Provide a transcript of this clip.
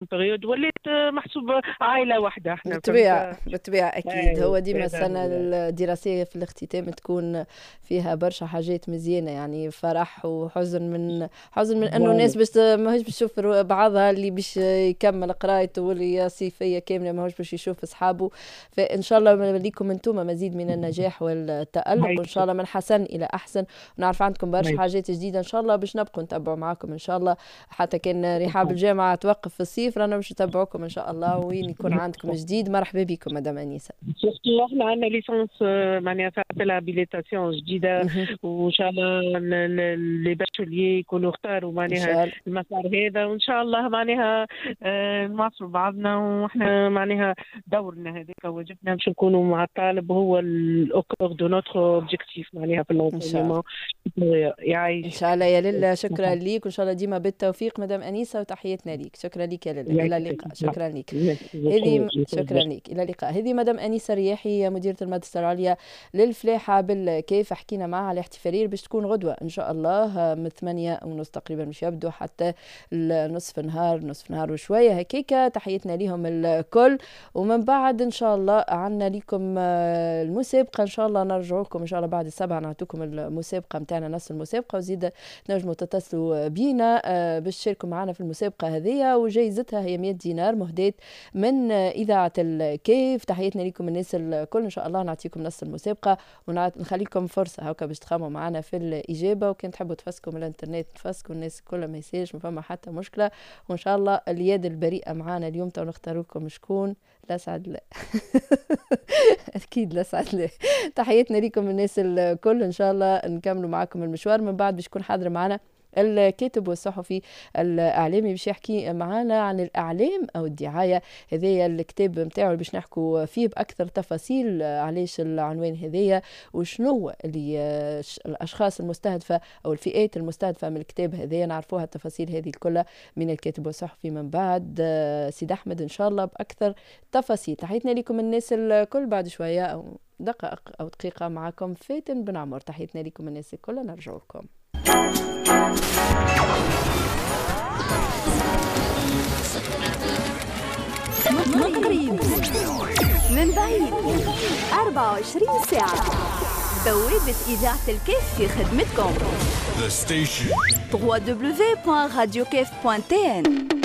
période ولات محسوب عائلة واحدة احنا. بالطبيعة بالطبيعة اكيد. هو ديما السنة الدراسية في الاختتام تكون فيها برشا حاجات مزيانه، يعني فرح وحزن، من حزن من انه الناس باش ماهيش باش تشوف بعضها، اللي باش يكمل قرايته واللي صيفية كاملة ماهوش باش يشوف اصحابه. فان شاء الله ليكم انتم مزيد من النجاح والتالق، وان شاء الله من حسن الى احسن. ونعرف عندكم برشا حاجات جديدة ان شاء الله باش نبقوا نتبعوا معاكم ان شاء الله، حتى كان رحاب الجامعة توقف في الصيف رانا باش نتبعوكم ان شاء الله وين يكون عندكم جديد. مرحبا بكم مدام انيسة. surtout احنا عندنا licence معناها في l'habilitation جديده، وان شاء الله les bacheliers يكونوا اختاروا معناها المسار هذا، وان شاء الله معناها نواصلوا بعضنا، واحنا معناها دورنا هذاك واجبنا باش نكونوا مع الطالب، هو au cœur de notre objectif معناها في l'enseignement. يعيش ان شاء الله يا للا. شكرا ليك وان شاء الله ديما بالتوفيق مدام انيسة، وتحياتنا ليك. شكرا لك يا للا، الى اللقاء. شكرا لك هذه، شكرا لك، الى اللقاء. هذه مدام انيسة رياحي مديره المدرسة العليا للفلاحه بالكيف، حكينا معها على الاحتفالية باش تكون غدوه ان شاء الله من 8:30 تقريبا باش يبدو حتى نصف نهار، نصف نهار وشوية هكاكا. تحياتنا لهم الكل، ومن بعد ان شاء الله عندنا لكم المسابقة، ان شاء الله نرجع لكم ان شاء الله بعد 7 نعطيكم المسابقة نتاعنا، نص المسابقة، وزيد تنجموا تتصلوا بينا باش تشاركوا معنا في المسابقة هذه، وجائزتها هي 100 دينار مهداة من اذاعة الكيف. تحياتنا لكم الناس الكل، ان شاء الله نعطيكم نص المسابقة ونخليكم فرصة هكا باش تخموا معنا في الاجابة، وكان تحبوا تفسكوا من الانترنت تفسكوا الناس الكل، ما يصيرش ما فما حتى مشكلة. وان شاء الله اليد البريئة معنا اليوم تو نختار لكم شكون. لا سعد لا اكيد لا سعد لا. تحياتنا لكم الناس الكل، ان شاء الله نكملوا معكم المشوار. من بعد باش يكون حاضر معنا الكاتب والصحفي الإعلامي باش يحكي معنا عن الإعلام أو الدعاية. هذايا الكتاب نتاعو باش نحكوا فيه بأكثر تفاصيل، علاش العنوان هذايا وشنو اللي الأشخاص المستهدفة أو الفئات المستهدفة من الكتاب هذايا، نعرفوها التفاصيل هذه الكل من الكاتب والصحفي من بعد سيد أحمد إن شاء الله بأكثر تفاصيل. تحياتنا لكم الناس الكل، بعد شوية أو دقائق أو دقيقة معكم فاتن بن عمر. تحياتنا لكم الناس الكل، نرجع لكم. من قريب من بعيد 24 ساعة، بوابة إذاعة الكيف في خدمتكم. www.radiokef.tn.